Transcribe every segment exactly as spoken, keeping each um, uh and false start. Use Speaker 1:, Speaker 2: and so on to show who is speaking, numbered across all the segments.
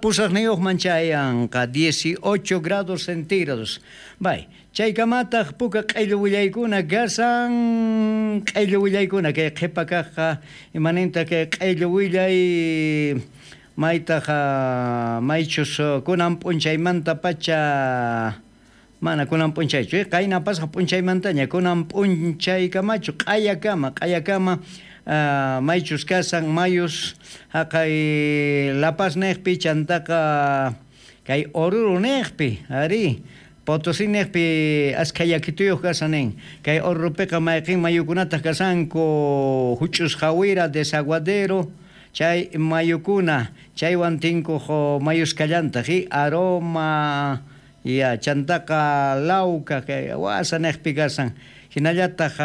Speaker 1: Pusaqniyuqman chayanqa dieciocho grados centígrados. Bay, chaykamataq puka q'illu willaykuna kasan, q'illu willaykuna kay qhipa kaqqa imaninta kay q'illu willay maytaq maychus kunan p'unchaymanta pacha mana kunan p'unchaychu, qayna pasaq p'unchaymantaña kunan p'unchaykamachu q'ayakama q'ayakama Uh, maychus kasan mayus haqay La Paz neqpi chantaqa kay Oruro neqpi ari Potosí neqpi askha yakituyuq kasan nin kay Orurupiqa mayqin mayukunataq kasanku huch'us jawira desaguadero chay mayukuna chaywan tinkuq mayus kallantaq aroma ya chantaqa Lauca kay wasa neqpi kasan hinallataq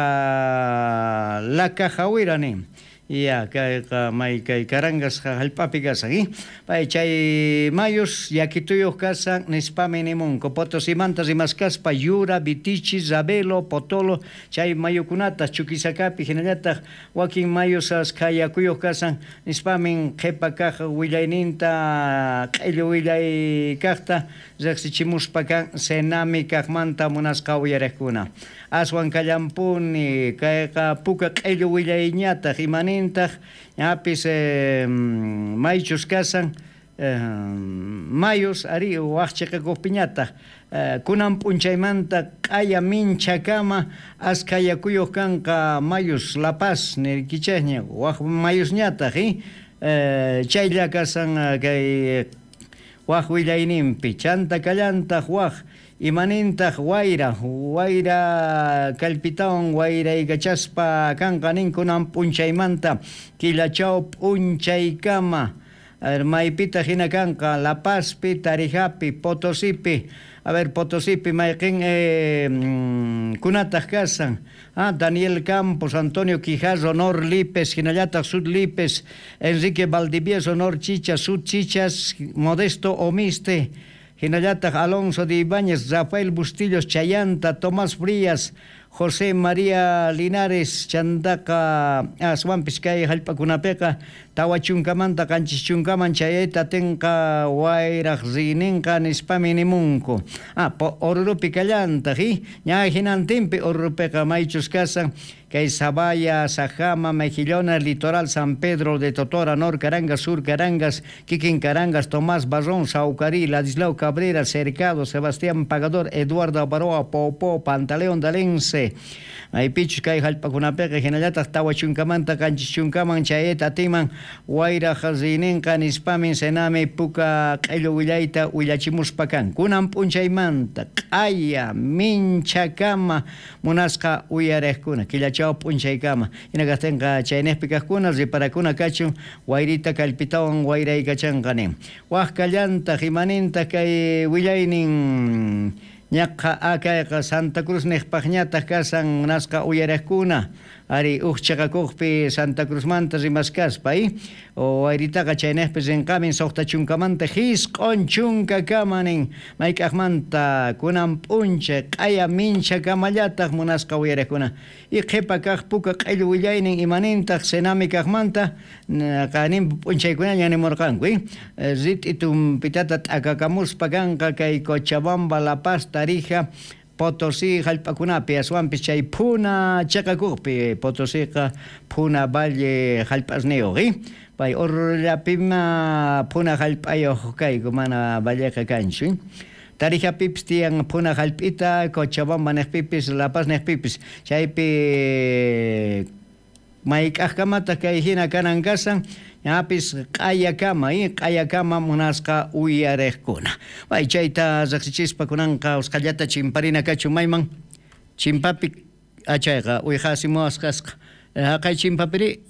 Speaker 1: Laca jawira nin ya kayqa may kay Carangas hallp'api kasan eh pay chay mayus yakituyuq kasan nispami nimunku Potosimanta rimaskaspa Yura, Vitichi, Ravelo, Potolo chay mayukunata Chuquisacapi hinallataq wakin mayus askha yakuyuq kasan nispamin qhipa kaq willayninta q'illu willay kaqta riqsichimuspa kan Senami kaqmanta munasqa uyariqkuna aswan kallampuni kayqa puka q'illu willayñataq imanintaq ñapis eh, maychus kasan eh, mayus ari waq chiqakuqpiñataq eh, kunan p'unchaymanta q'aya minchakama askha yakuyuq kanqa mayus La Paz nirkichaqña waq mayusñataq eh, chaylla kasan kay waq willayninpi chanta kallantaq waq imanintaq wayra wayra kallpitawan wayraykachaspa kanqa nin kunan p'unchaymanta killachaw p'unchaykama maypitaq hina kanqa La Pazpi, Tarijapi, Potosipi. A ver, Potosipi mayqin eh, kunataq kasan ah, Daniel Campos, Antonio Quijarro, Nor Lipes, hinallataq Sud Lipes, Enrique Valdivieso, Nor Chicha, Sud Chichas, Modesto Omiste, hinallataq Alonso de Ibáñez, Rafael Bustillos, Chayanta, Tomás Frías, José María Linares, chantaqa aswanpis kay hallp'akunapiqa tawa chunkamanta qanchis chunkaman chayayta atinqa wayraq riyninqa nispami nimunku. Ah, Orurupi kallantaq ña hinantinpi Orurupiqa maychus kasan kay Sabaya, Sajama, Mejillones, Litoral, San Pedro de Totora, Nor Carangas, Sur Carangas, Kikin Carangas, Tomás Barrón, Saucarí, Ladislao Cabrera, Cercado, Sebastián Pagador, Eduardo Abaroa, Popó, Pantaleón Dalense. Maypichus kay hallp'akunapiqa hinallataq tawa chunkamanta qanchis chunkaman chayayta atiman wayraq riyninqa nispamin Senami puka q'illu willayta willachimuspa kan kunan p'unchaymanta q'aya minchakama munasqa uyariqkuna killachaw p'unchaykama hina kaqtinqa chayniqpi kaqkuna riparakuna kachun wayrita kallpitawan wayraykachanqa nin waq kallantaq imanintaq kay willaynin ñaqa akayqa Santa Cruz niqpaqñataq kasan munasqa uyariqkuna ari uj chiqakuqpi Santa Cruzmanta rimaskaspa eh wayritaqa chayniqpi rinqamin suqta chunkamanta hisq'un chunkakama nin mayk'aqmanta kunan p'unchay q'aya minchakamallataq munasqa uyariqkuna y qhipa kaq puka q'illu willaynin imanintaq Senami kaqmanta qanin p'unchaykunaña nimurqanku eh rit'i tumpitata t'akakamuspa kanqa kay Cochabamba, La Paz, Tarija, Potosí hallp'akunapi aswanpis chay phuna chiqakuqpi Potosiqa phuna valle hallp'asniyuq eh pay Orurullapima phuna hallp'ayuq kayku mana valleqa kanchu Tarijapipis tiyan phuna hallp'ita Cochabamba niqpipis La Paz niqpipis chaypi mayk'aqkamataq kay hina kanan kasan ñapis q'ayakama eh q'ayakama munasqa uyariqkuna bay chayta riqsichispa kunanqa usqhallata chimparina kachun mayman chimpapi achayqa uyqasimuwasqasqa haqay chimpapiri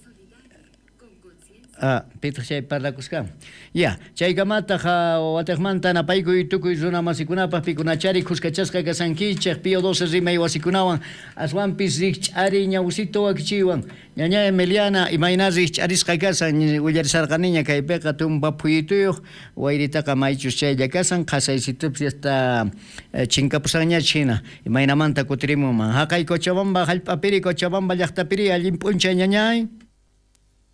Speaker 1: Ah, pitaq chay parlakusqa. Ya, chaykamataq watiqmanta napaykuy tukuy runa masikunapaq pikunachari khuskachasqa kasankichej Pío doce rimay wasikunawan aswanpis rikch'ari ñawsito wakichiwan ñaña Emiliana imayna rikch'arisqa kasan willarisarqaniña kaypiqa tumpa phuyituyuq wayritaqa maychus chaylla kasan qhasaysitupis hasta chinkapusanñach hina imaynamanta kutirimunman haqay Cochabamba hallp'apiri Cochabamba llaqtapiri allin p'unchay ñañay.